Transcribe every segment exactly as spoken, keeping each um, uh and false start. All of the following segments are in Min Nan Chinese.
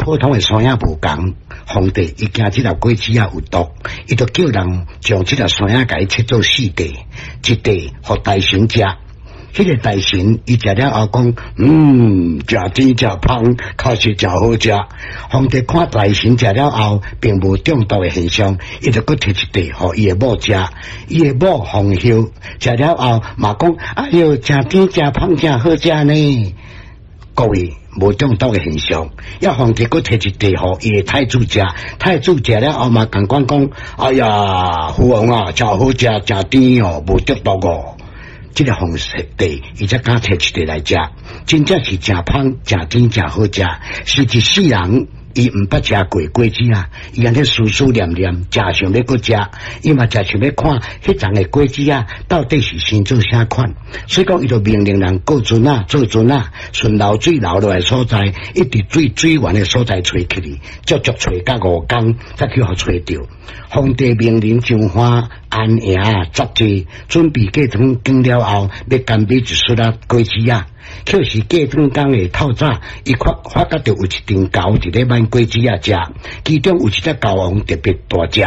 普通的山仔無仝。皇帝伊驚這粒果子仔有毒，伊就叫人將這粒山仔共伊切做四塊，一塊予大臣食。彼個大臣伊食了後講，嗯，誠甜誠芳，確實誠好食。皇帝看大臣食了後，並無中毒的現象，伊就閣摕一塊予伊的某食。伊的某皇后食了後嘛講，哎喲，誠甜誠芳，誠好食呢。各位，無中毒的現象，抑皇帝閣摕一塊予伊的太子食，太子食了後嘛仝款講，哎呀，父王啊，誠好食，誠甜哦，無中毒哦。這个皇帝伊才敢摕一塊來食，真正是誠芳、誠甜、誠好食，是一世人伊毋捌食過果子啊！伊按呢思思念念，誠想欲閣食，伊嘛誠想欲看彼叢的果子啊，到底是生做啥款？所以講，伊就命令人過船仔，做船仔，順流水流落來所在，一直水水源的所在揣起去，足足揣甲五工，才去予揣著。皇帝命令張華安營紮寨，準備過湯經了後，欲干買一束仔果子仔。卻是過轉工的透早，伊發發覺著有一陣猴佇咧挽果子仔食，其中有一隻猴王特別大隻。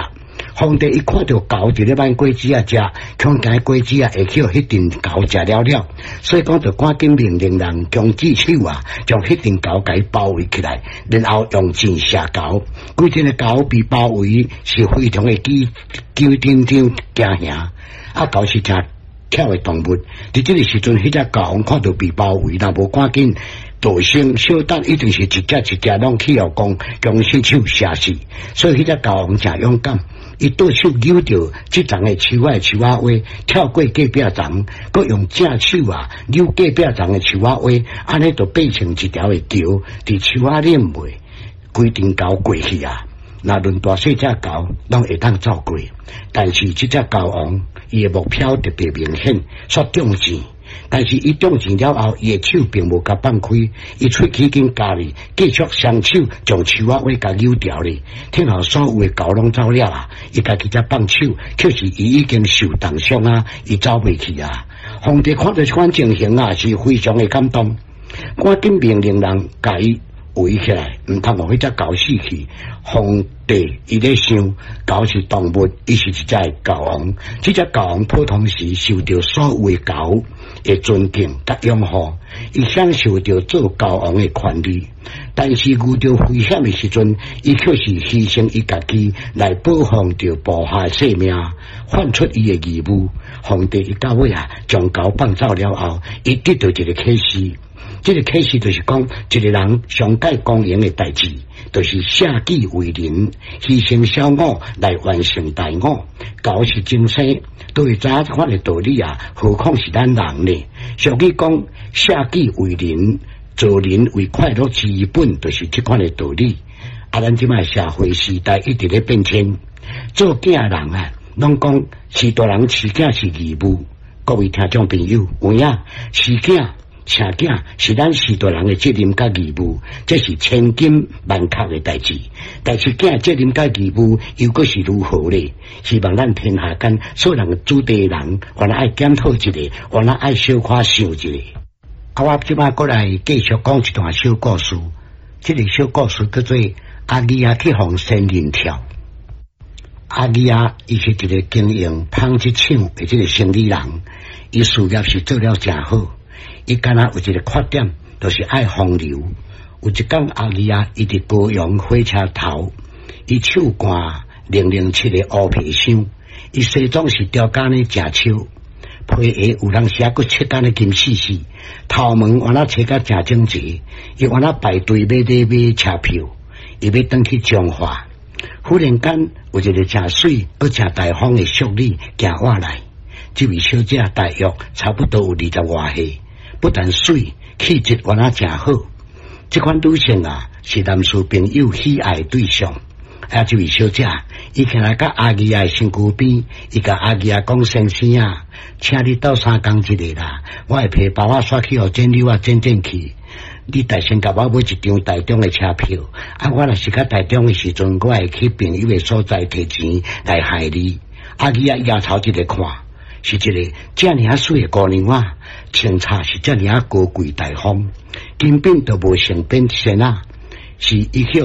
皇帝一看著猴佇咧挽果子仔食，恐驚果子仔會去予彼陣猴食了了，所以講就趕緊命令人弓箭手啊，將彼陣猴共伊包圍起來，然後用箭射猴。規陣的猴被包圍，是非常的緊緊張驚嚇。啊，猴是誠巧的動物，佇這个時陣，彼隻猴王看著被包圍，若無趕緊逃生，小等一定是一隻一隻攏去予弓弓箭手射死。所以彼隻猴王誠勇敢，伊倒手扭著這叢的樹仔樹仔尾，跳過隔壁叢，閣用正手啊扭隔壁叢的樹仔尾，按呢就變成一條的橋，佇樹仔頂尾，規陣猴過去啊！若論大細隻猴，攏會當走過，但是這隻猴王，伊的目標特別明顯，煞中箭。但是伊中箭了後，伊的手並無共放開，伊喙齒緊咬咧，繼續雙手將樹仔尾共扭掉咧。聽候所有的猴攏走了啊，伊家己才放手，卻是伊已經受重傷啊，伊走袂去啊。皇帝看著這款情形啊，是非常的感動，趕緊命令人共伊圍起來，毋通予彼隻猴死去。皇帝伊咧想，猴是動物，伊是一隻猴王。這隻猴王普通時受著所有的猴的尊敬佮擁護，伊享受著做猴王的權利。但是遇著危險的時陣，伊卻是犧牲伊家己來保護著部下的性命，犯出伊的義務。皇帝伊到尾啊，將猴放走了後，伊得著一个啟示。這个啟示就是講，一个人上蓋光榮的代誌，就是捨己為人，犧牲小我來完成大我。猴是眾生，都會知影這款的道理啊，何況是咱人呢？俗語講，捨己為人，做人為快樂之本，就是這款的道理。啊，咱這擺社會時代一直咧變遷，做囝人啊，攏講飼大人飼囝是義務。各位聽眾朋友，有影飼囝？生囝是咱飼大人的責任佮義務，這是千金萬確的代誌。但是囝責任佮義務又閣是如何呢？希望咱天下間所有人子弟人，原來愛檢討一下，原來愛小可想一下。啊，我這擺閣來繼續講一段小故事。這个小故事叫做阿義仔去予仙人跳。阿義仔伊是一个經營紡織廠的這个生理人，伊事業是做了誠好。伊敢若有一个缺點，就是愛風流。有一工阿義仔，伊佇高雄火車頭，伊手掛零零七的烏皮箱，伊西裝是雕工呢誠超，皮鞋有當時猶閣切甲呢金絲絲，頭毛原來切甲誠整齊，伊原來排隊欲咧買車票，伊欲轉去彰化。忽然間有一个誠媠閣誠大方的淑女行過來，這位小姐大約差不多有二十外歲。不但媠，氣質原來誠好。這款女性啊，是男士朋友喜愛的對象。啊，這位小姐，伊徛來佮阿義仔的身軀邊，伊共阿義仔講：先生啊，請你鬥相共一下啦，我的皮包仔煞去予剪扭仔剪剪去。你代先共我買一張台中的車票，啊，我若是較台中的時陣，我會去朋友的所在提錢來害你。阿義仔搖頭一个看，是一个遮爾仔媠的姑娘仔，穿插是遮爾仔高貴大方，根本就無性變仙仔，是伊去